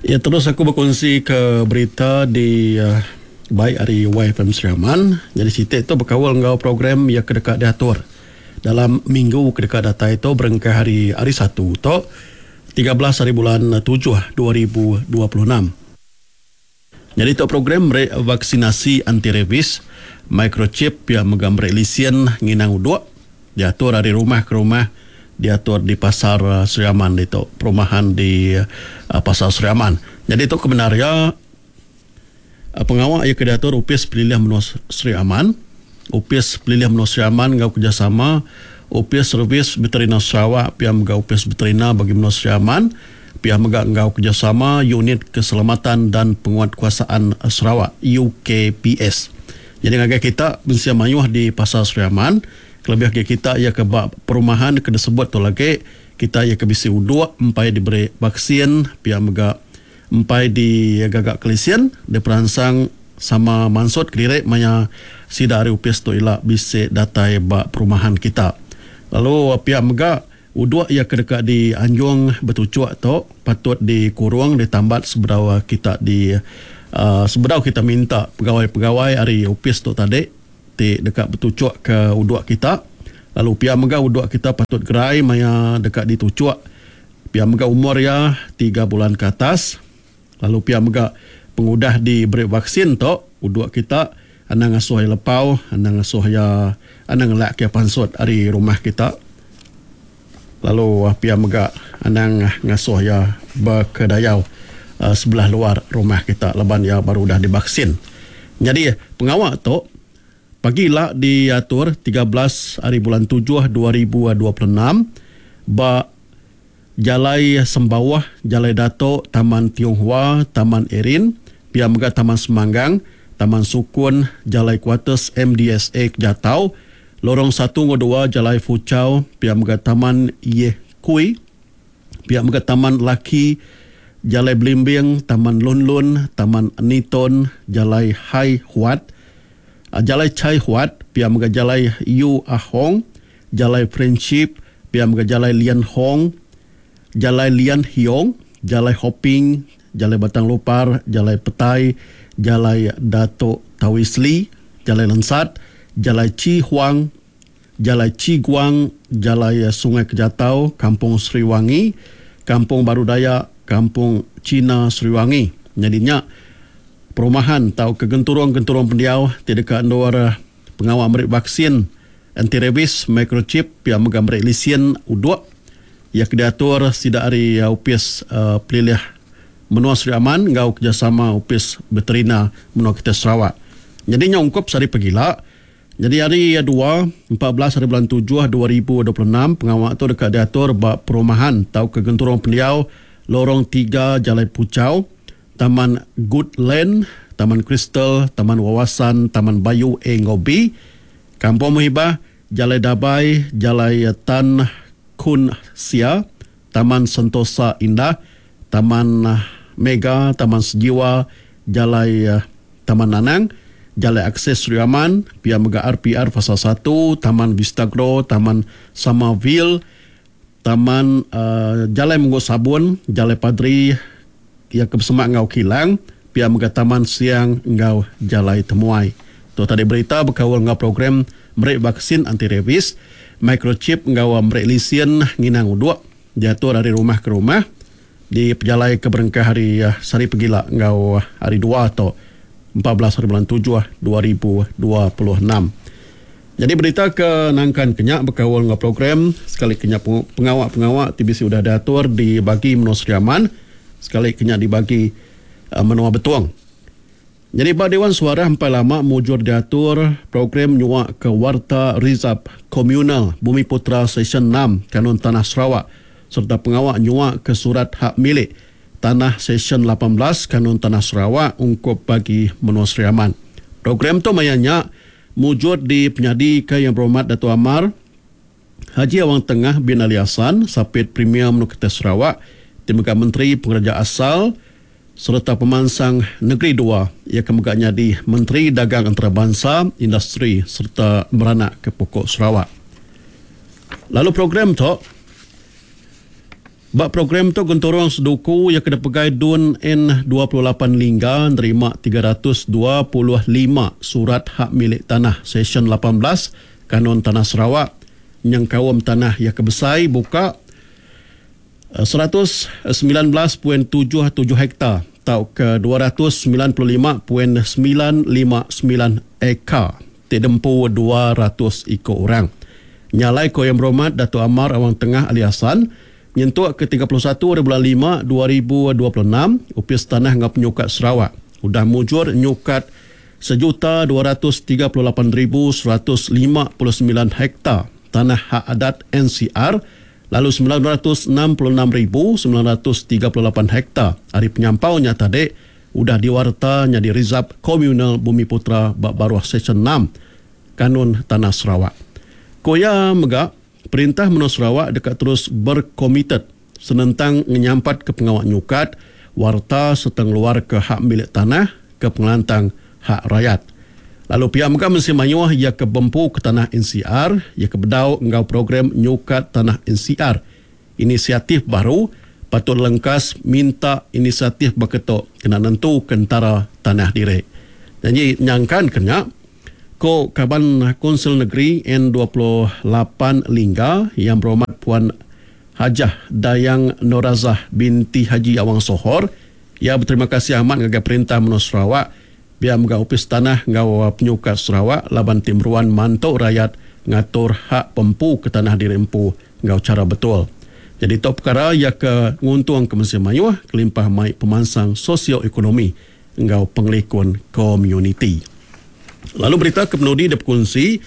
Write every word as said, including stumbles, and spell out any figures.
Ya, terus aku bekunsi ke berita di uh, baik ari Y F M Sri Aman. Jadi siti tu berkawal enggau program yang kedeka diatur dalam minggu kedeka datai tu berengkah hari hari satu tu tiga belas hari bulan tujuh dua ribu dua puluh enam. Jadi tu program vaksinasi anti rabies microchip yang mega meri lisen nginang uduk diatur dari rumah ke rumah, diatur di pasar Sri Aman itu, perumahan di uh, pasar Sri Aman. Jadi itu kebenarnya uh, pengawal ia diatur Upis Pelilih Menua Sri Aman, Upis Pelilih Menua Sri Aman ngau kerjasama Upis Servis Veterina Sarawak, pihak megau Upis Veterina bagi Menua Sri Aman, pihak mega ngau kerjasama Unit Keselamatan dan Penguatkuasaan Sarawak U K P S. Jadi ngagai kita mensia mayuh di pasar Sri Aman, kelebih ke kita ia ke bak perumahan ke disebut tu lagi kita ia ke bisi uduk empai diberi vaksin, pihak mega empai di gagak kelisian diperansang sama mansut kediri maya sida ari upis tu ila bisi datai bak perumahan kita. Lalu pihak mega uduk ia ke dekat di Anjung bertucuk tu patut dikurung ditambat sebedau kita di uh, sebedau kita minta pegawai-pegawai ari upis tu tadi ti dekat bertucuk ke uduk kita. Lalu pihak mega uduk kita patut gerai maya dekat ditucuk. Pihak mega umur ya tiga bulan ke atas. Lalu pihak mega pengudah diberi vaksin tu uduk kita anang ngasuh ya lepau, anang ngasuh ya anang ngelak ke pansut ari rumah kita. Lalu pihak mega anang ngasuh ya berkedayau uh, sebelah luar rumah kita laban ya baru dah divaksin. Jadi pengawal tu pagi lah diatur tiga belas hari bulan tujuh dua ribu dua puluh enam ba Jalai Sembawah, Jalai Datuk, Taman Tionghoa, Taman Erin, pihak mega Taman Semanggang, Taman Sukun, Jalai Kuarters M D S A Jatau, Lorong satu dan dua Jalai Fuchao, pihak mega Taman Yeh Kui, pihak mega Taman Laki, Jalai Belimbing, Taman Lun Lun, Taman Niton, Jalai Hai Huat, Jalai Chai Huat, pihak mega Jalai Yu Ahong, Jalai Friendship, pihak mega Jalai Lian Hong, Jalai Lian Hiong, Jalai Hopping, Jalai Batang Lupar, Jalai Petai, Jalai Datuk Tawisli, Jalai Lensat, Jalai Chi Huang, Jalai Chi Guang, Jalai Sungai Kejatau, Kampung Sriwangi, Kampung Baru Dayak, Kampung Cina Sriwangi. Jadinya perumahan atau kegenturung-genturung pendiau tidak dekat luar pengawal merik vaksin anti rabies microchip yang mega merik lisen uduk yang diatur sidak hari U P S uh, Pelilih Menua Sri Aman ngau kerjasama U P S Veterina Menua kita Sarawak. Jadi nyongkop sari pegila. Jadi hari dua, empat belas hari bulan tujuh dua ribu dua puluh enam pengawal tu dekat diatur bak perumahan atau kegenturung pendiau Lorong tiga Jalai Pucau, Taman Goodland, Taman Crystal, Taman Wawasan, Taman Bayu A ngau B, Kampung Muhibah, Jalai Dabai, Jalai Tan Kun Sia, Taman Sentosa Indah, Taman Mega, Taman Sejiwa, Jalai Taman Nanang, Jalai Akses Sri Aman, Pia Mega R P R Fasa satu, Taman Vista Grow, Taman Samaville, Taman uh, Jalai Munggu Sabun, Jalai Padri, yang kebesemak ngau Kilang, Pia Mega Taman Siang ngau Jalai Temuai. Tu tadi berita berkawal ngau program merik vaksin anti rabies, microchip ngau merik lisen nginang uduk diatur dari rumah ke rumah di pejalai ke berengkah hari uh, sari pegila ngau hari dua atau empat belas hari bulan tujuh dua ribu dua puluh enam. Jadi berita ke nangkan kenyak berkawal ngau program sekali kenyak pengawak-pengawak T B C sudah diatur dibagi Menua Sri Aman, sekali kenyak dibagi uh, Menua Betuang. Jadi Pak Dewan Suara empat lama mujur diatur program nyuak ke Warta Rizab Komunal Bumi Putra Session enam Kanun Tanah Sarawak serta pengawak nyuak ke surat hak milik Tanah Session lapan belas Kanun Tanah Sarawak ungkup bagi Menua Sri Aman. Program tu mayanya mujur di penyadi ke Yang Berhormat Dato' Amar Haji Awang Tengah bin Ali Hassan, Sapit Premier Menua Kita Sarawak, Timbalan Menteri Pengerja Asal serta Pemansang Negeri dua, ia kemegaknya di Menteri Dagang Antarabangsa, Industri serta Beranak ke Pokok Sarawak. Lalu program tu Ba program tu genturung Seduku yang kena pegai Dun N dua puluh lapan Lingga nerima tiga ratus dua puluh lima surat hak milik tanah Seksyen lapan belas Kanun Tanah Sarawak nyengkaum tanah yang kebesai buka seratus sembilan belas titik tujuh tujuh hektar atau ke dua ratus sembilan puluh lima titik sembilan lima sembilan ekar ti dempu dua ratus iko orang. Nyalai ko Yang Berhormat Datuk Amar Awang Tengah Ali Hasan nyentuk ke tiga puluh satu bulan lima dua ribu dua puluh enam Opis Tanah Ngau Penyukat Sarawak udah mujur nyukat sejuta dua ratus tiga puluh lapan ribu seratus lima puluh sembilan hektar tanah hak adat N C R lalu sembilan ratus enam puluh enam ribu sembilan ratus tiga puluh lapan hektar hari penyampaunya tadi udah diwarta nyadi Rizab Komunal Bumi Putra bak baruh Seksyen enam Kanun Tanah Sarawak. Koya mega Perintah Menua Sarawak dekat terus berkomited senentang menyampat ke pengawak nyukat warta serta ngeluar ke hak milik tanah ke pengelantang hak rakyat. Lalu pihak mega mesti mayuh ia ke bempu ke tanah N C R, ia ke bedau enggau program nyukat tanah N C R. Inisiatif baru patut lengkas minta inisiatif berketuk kena nentu kentara tanah diri. Jadi nyangkan kena ko Kaban Konsil Negeri N dua puluh lapan Lingga yang berhormat Puan Hajah Dayang Norazah binti Haji Awang Sohor ia berterima kasih amat ngagai Perintah Menua Sarawak biar megau Opis Tanah ngau Penyukat Sarawak laban timruan mantuk rakyat ngatur hak pempu ke tanah diri empu ngau cara betul. Jadi tok perkara ia ke nguntung ke Mesir Mayuh kelimpah mai pemansang sosioekonomi ngau pengelikun komuniti. Lalu berita ke penudi dia berkongsi